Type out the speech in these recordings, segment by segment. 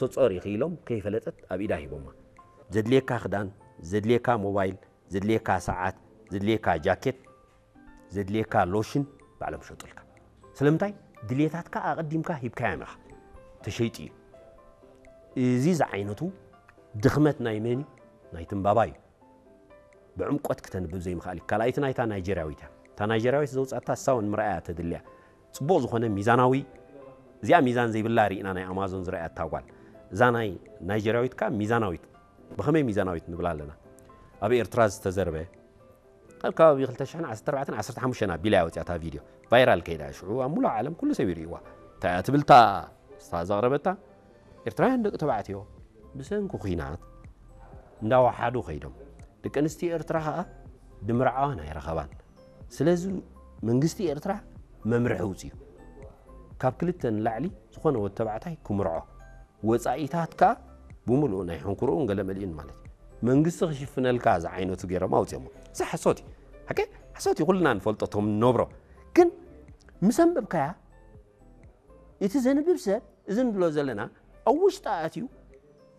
ተጾር ኢኺ ኢሎም ከይፈለጠት ኣብ ኢዳ ሂቦማ። ዘድልየካ ክዳን፣ ዘድልየካ ሞባይል፣ ዘድልየካ ሰዓት፣ ዘድልየካ ጃኬት፣ ዘድልየካ ሎሽን ባዕሎም ሸጡልካ። ስለምንታይ? ድልየታትካ ኣቐዲምካ ሂብካዮም ኢኻ። ተሸይጡ እዩ። እዚ ዝዓይነቱ ድኽመት ናይ መን እዩ? ናይ ትንባባ እዩ። ብዕምቆት ክተንብብ ዘይምኽኣል እዩ። ካልኣይቲ ናይታ ናይጀርያዊት እያ። እታ ናይጀርያዊት ዘውጻእታ እሳ እውን ምርኣያ ተድልያ። ጽቡቕ ዝኾነ ሚዛናዊ፣ እዚኣ ሚዛን ዘይብላ ርኢና ናይ ኣማዞን ዝረኣያ እታ ጓል። እዛ ናይ ናይጀርያዊት ከኣ ሚዛናዊት። ብኸመይ ሚዛናዊት ንብላ ኣለና? ኣብ ኤርትራ ዝተዘርበ ኣብ ከባቢ ክልተ ሽሕን ዓሰርተ ኣርባዕተን ዓሰርተ ሓሙሽተን ኣቢላ እያ ወፂኣ እታ ቪድዮ። ቫይራል ከይዳ ሽዑ ኣብ ሙሉእ ዓለም ኩሉ ሰብ ይርእይዋ። እንታይ እያ ትብል እታ እሳ ዘቕረበታ? ኤርትራውያን ደቂ ተባዕትዮ ብሰንኪ ኲናት እንዳወሓዱ ከይዶም፣ ደቂ ኣንስትዮ ኤርትራ ኸኣ ድምርዓወን ኣይረኸባን። ስለዚ መንግስቲ ኤርትራ መምርሒ ኣውጺኡ፣ ካብ ክልተ ንላዕሊ ዝኾነ ወዲ ተባዕታይ ክምርዖ፣ ወጻኢታት ከኣ ብምሉኡ ናይ ሕንኩርኡን ገለ መሊኡን ማለት እዩ። መንግስቲ ክሽፍነልካ ዝዓይነቱ ገይሮም ኣውጺኦሞ። እዚ ሓሶት እዩ። ሓቂ ሓሶት እዩ፣ ኩልና ንፈልጦ እቶም ንነብሮ። ግን ምስ ኣንበብካያ፣ እቲ ዘንብብ ሰብ፣ እዚ ንብሎ ዘለና፣ ኣብ ውሽጢ ኣትዩ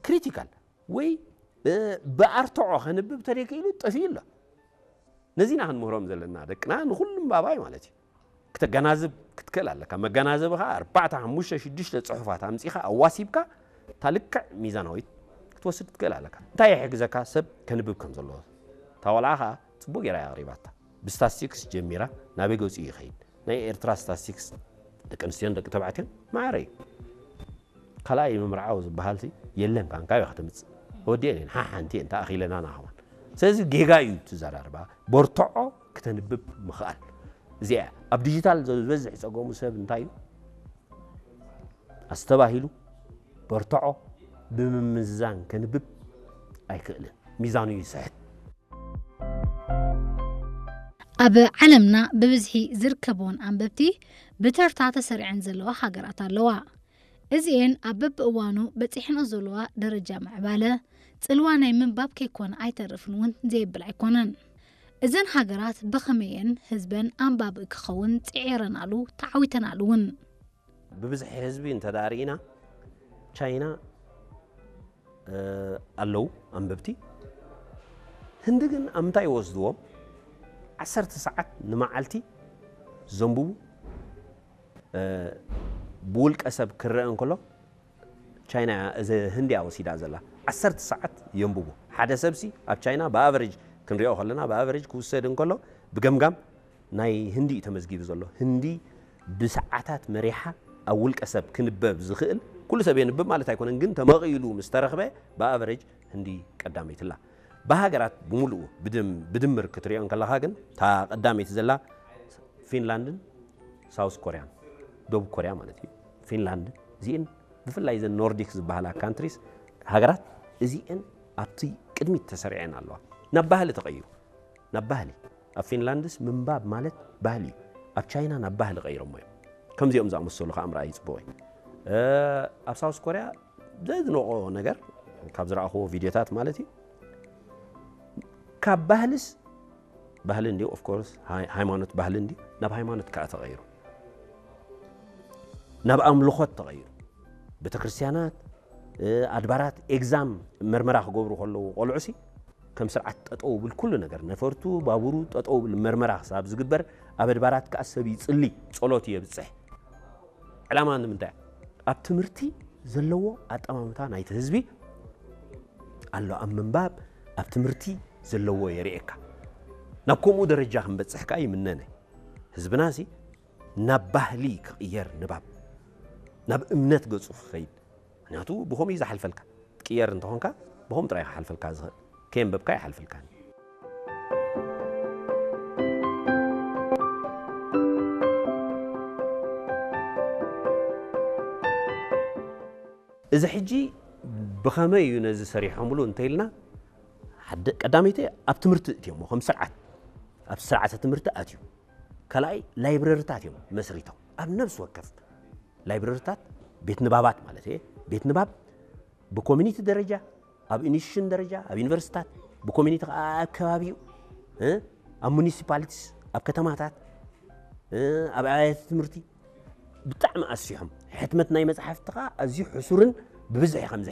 ክሪቲካል ወይ፣ እ፣ ብኣርትዖ ከንብብ ተደኪሉ ጠፊኡ ኣሎ። ነዚና ክንምህሮም ዘለና ደቅና ንኹሉም ባባይ ማለት እዩ። ክተገናዝብ ክትክእል ኣለካ። መገናዘቢ ኸዓ ኣርባዕተ፣ ሓሙሽተ፣ ሽዱሽተ ጽሑፋት ኣምጺኻ ኣዋሲብካ እታ ልክዕ ሚዛናዊት ክትወስድ ትክእል ኣለካ። እንታይ ይሕግዘካ? ሰብ ከንብብ ከም ዘለዎ። እታ ቆልዓ ኸዓ ጽቡቕ ገይራ እያ ኣቕሪባታ። ብስታስቲክስ ጀሚራ ናበይ ገጹ ይኸይድ? ናይ ኤርትራ ስታስቲክስ ደቂ ኣንስትዮን ደቂ ተባዕትዮን ማዕረ እዩ። ካልኣይ ምምርዓው ዝበሃል ሲ የለን፣ ካንካ ኢኻ ትምጽእ። ወዲአን እየን፣ ሓሓንቲ እየን፣ ተኣኺለና ናኸማን። ስለዚ ጌጋ እዩ እቲ ዘራርባ። በርትዖ ክተንብብ ምኽኣል። እዚኣ እያ። ኣብ ዲጂታል ዝበዝሕ ጸገሙ ሰብ እንታይ እዩ? ኣስተባሂሉ በርትዖ ብምምዝዛን ከንብብ ኣይክእልን። ሚዛኑ ይስሕት። ኣብ ዓለምና ብብዝሒ ዝርከብዎን ኣንበብቲ ብተርታ ተሰሪዐን ዘለዋ ሃገራት ኣለዋ። እዚኤን ኣብ በብእዋኑ በጺሐንኦ ዘለዋ ደረጃ ምዕባለ፣ ጽልዋ ናይ ምንባብ ከይኮነ ኣይተርፍን እውን ዘየብል ኣይኮነን። እዘን ሃገራት ብኸመየን ህዝበን ኣንባቢ ክኸውን ጽዒረናሉ ተዓዊተናሉ እውን። ብብዝሒ ህዝቢ እንተ ደኣ ርኢና፣ ቻይና፣ እ፣ ኣለዉ ኣንበብቲ። ህንዲ ግን ኣብ ምንታይ ይወስድዎም? ዓሰርተ ሰዓት ንመዓልቲ ዘንብቡ፣ እ፣ ብውልቀ ሰብ ክረአ እንከሎ፣ ቻይና እያ፣ እዚ ህንዲ እያ ወሲዳ ዘላ። ዓሰርተ ሰዓት የንብቡ። ሓደ ሰብሲ ኣብ ቻይና ብኣቨሬጅ ክንሪኦ ከለና፣ ብኣቨሬጅ ክውሰድ እንከሎ፣ ብገምጋም ናይ ህንዲ እዩ ተመዝጊቡ ዘሎ። ህንዲ ብሰዓታት መሪሓ ኣብ ውልቀ ሰብ ክንበብ ዝኽእል፣ ኩሉ ሰብ የንብብ ማለት ኣይኮነን፣ ግን ተመቒሉ ምስ ተረኽበ ብኣቨሬጅ ህንዲ ቀዳመይቲ ኣላ። ብሃገራት ብምሉኡ ብድም-፣ ብድምር ክትሪኦ እንከለኻ ግን እታ ቀዳመይቲ ዘላ ፊንላንድን ሳውስ ኮርያን፣ ደቡብ ኮርያ ማለት እዩ። ፊንላንድ እዚኤን ብፍላይ እዘን ኖርዲክ ዝበሃላ ካንትሪስ፣ ሃገራት እዚኤን ኣብቲ ቅድሚት ተሰሪዐን ኣለዋ። ናብ ባህሊ ተቐይሩ፣ ናብ ባህሊ። ኣብ ፊንላንድስ ምንባብ ማለት ባህሊ እዩ። ኣብ ቻይና ናብ ባህሊ ቀይሮሞ እዮም። ከምዚኦም ዝኣመሰሉ ከዓ ምርኣይ ጽቡቕ እዩ። እ፣ ኣብ ሳውስ ኮርያ ዘድንቖ ነገር ካብ ዝረኣኽዎ ቪድዮታት ማለት እዩ፣ ካብ ባህልስ፣ ባህሊ እንዲ ኦፍ ኮርስ ሃይ-፣ ሃይማኖት ባህሊ እንዲ ናብ ሃይማኖት ከዓ ተቐይሩ፣ ናብ ኣምልኾት ተቐይሩ። ቤተክርስትያናት፣ እ፣ ኣድባራት ኤግዛም መርመራ ክገብሩ ከለዉ ቆልዑሲ ከም ስርዓት ጠጠው ብል ኩሉ ነገር፣ ነፈርቱ፣ ባቡሩ ጠጠው ብል መርመራ ክሳብ ዝግበር፣ ኣብ ኣድባራት ከዓ ሰብ ይጽሊ፣ ጸሎት የብጽሕ። ዕላማ ንምንታይ? ኣብ ትምህርቲ ዘለዎ ኣጠማምታ ናይቲ ህዝቢ ኣሎ፣ ኣብ ምንባብ፣ ኣብ ትምህርቲ ዘለዎ የርእየካ። ናብ ከምኡ ደረጃ ክንበጽሕ ከዓ ይምነነ። ህዝብናሲ ናብ ባህሊ ክቕየር ንባብ፣ ናብ እምነት ገጹ ክኸይድ። ምክንያቱ ብኸምኡ እዩ ዝሓልፈልካ። ትቅየር እንተኾንካ ብኸምኡ ጥራይ ክሓልፈልካ ዝኽእል። ከየንበብካ ይሓልፈልካ። እዚ ሕጂ ብኸመይ እዩ ነዚ ሰሪሖምሉ እንተኢልና፣ ሓደ ቀዳመይቲ ኣብ ትምህርቲ እትዮሞ፣ ከም ስርዓት ኣብ ስርዓተ ትምህርቲ ኣትዩ። ካልኣይ ላይብረሪታት እዮም መስሪቶም፣ ኣብ ነብሲ ወከፍ ላይብረሪታት፣ ቤት ንባባት ማለት እየ። ቤት ንባብ ብኮሚኒቲ ደረጃ፣ ኣብ ኢንስቲትዩሽን ደረጃ፣ ኣብ ዩኒቨርሲታት፣ ብኮሚኒቲ ከዓ ኣብ ከባቢኡ፣ እ፣ ኣብ ሙኒሲፓሊቲስ፣ ኣብ ከተማታት፣ እ፣ ኣብ ኣብያተ ትምህርቲ ብጣዕሚ ኣስፊሖም። ሕትመት ናይ መጽሓፍቲ ከዓ ኣዝዩ ሕሱርን ብብዝሒ ከምዚ